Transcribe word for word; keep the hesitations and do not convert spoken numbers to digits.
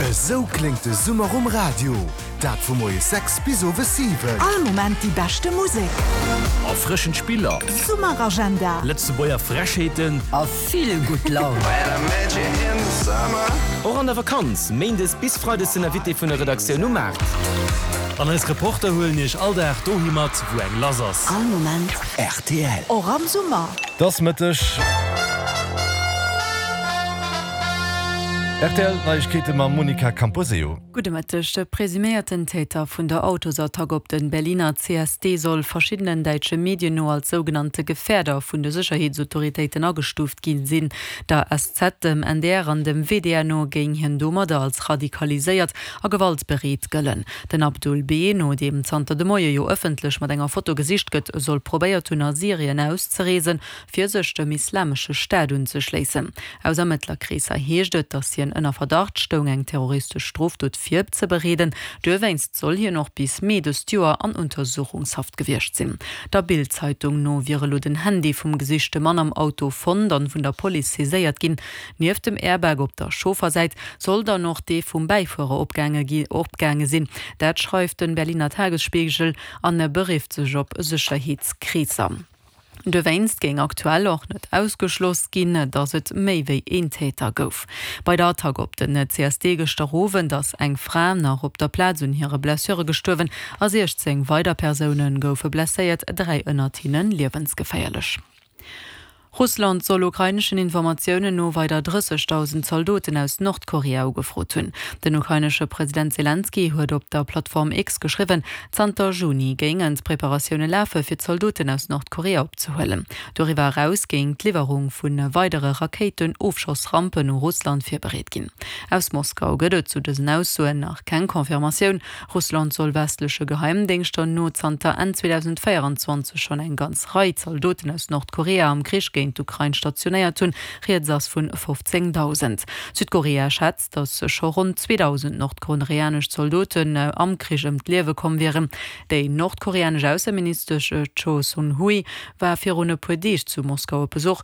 Esou kléngt de Summer um Radio. Dat vu moies sechs bis owes siwen. All Moment déi beschte Musek. Erfrëschend Spiller. Summeragenda. Lëtzebuerger Frechheeten. A vill gutt Laun. Och an der Vakanz, méindes bis freides den Invité vun der Redaktioun um Maart. An eis Reporter huelen iech all Dag dohi mat, wou eng lass ass. All Moment. R T L. Och am Summer. 't ass Mëtteg. R T L Neiegkeete mam Monica Camposeo. Gudde Mëtteg. De presuméierten Täter vun der Autosattack op den Berliner C S D soll verschiddenen däitsche Medien no als sougenannte Gefährder vun de Sécherheetsautoritéiten agestuuft ginn sinn. Der S Z, dem N D R an dem W D R no géing hien domadder als radikaliséiert a gewaltbereet gëllen. Den Abdul B., no deem zanter de Moie jo ëffentlech mat enger Foto gesicht gëtt, soll probéiert hunn a Syrien auszereesen, fir sech dem Islamesche Staat unzeschléissen. Aus Ermëttlerkreesser heescht et, datt hien ënner Verdacht stoung, eng terroristesch Strofdot virzebereeden. Dowéinst soll hien och bis Mee dëst Joer an Untersuchungshaft gewiescht sinn. Der Bild-Zeitung no wier elo den Handy vum gesichte Mann am Auto fonnt an vun der Police saiséiert ginn. Nieft dem Airbag op der Chauffersäit soll dann och dee vum Bäifuerer opgaange gi opgaange sinn. Dat schreift den Berliner Tagesspiegel an berifft sech op Sécherheetskreesser. Dowéinst géing aktuell och net ausgeschloss ginn, datt et méi wéi een Täter gouf. Bei der Attack op den C S D gëschter Owend ass eng Fra nach op der Plaz un hire Blessure gestuerwen a siechzéng weider Persoune goufe blesséiert, dräi ënnert hinne liewensgeféierlech. Russland soll ukraineschen Informatiounen no weider drëssegdausend Zaldoten aus Nordkorea ugefrot hunn. Den ukrainesche President Selenskyj huet op der Plattform X geschriwwen, zanter Juni géingen d'Preparatioune lafe fir Zaldoten aus Nordkorea opzehuelen. Doriwwer eraus géing d'Liwwerung vu weidere Rakéitenofschossrampen u Russland virbereet ginn. Aus Moskau gëtt et zu dësen Aussoen nach keng Confirmatioun. Russland soll westleche Geheimdéngschter no zanter Enn zweedausendvéieranzwanzeg schonn eng ganz Rei Zaldoten aus Nordkorea am Krich géint d'Ukrain stationéiert hunn, rieds ass vun fofzéngdausend. Südkorea schätzt, datt scho ronn zweedausend nordkoreanesch Zaldoten am Krich ëm d'Liewe komm wieren. Déi nordkoreanesch Ausseministesch Choe Son Hui war virun e puer Deeg zu Moskau op Besuch.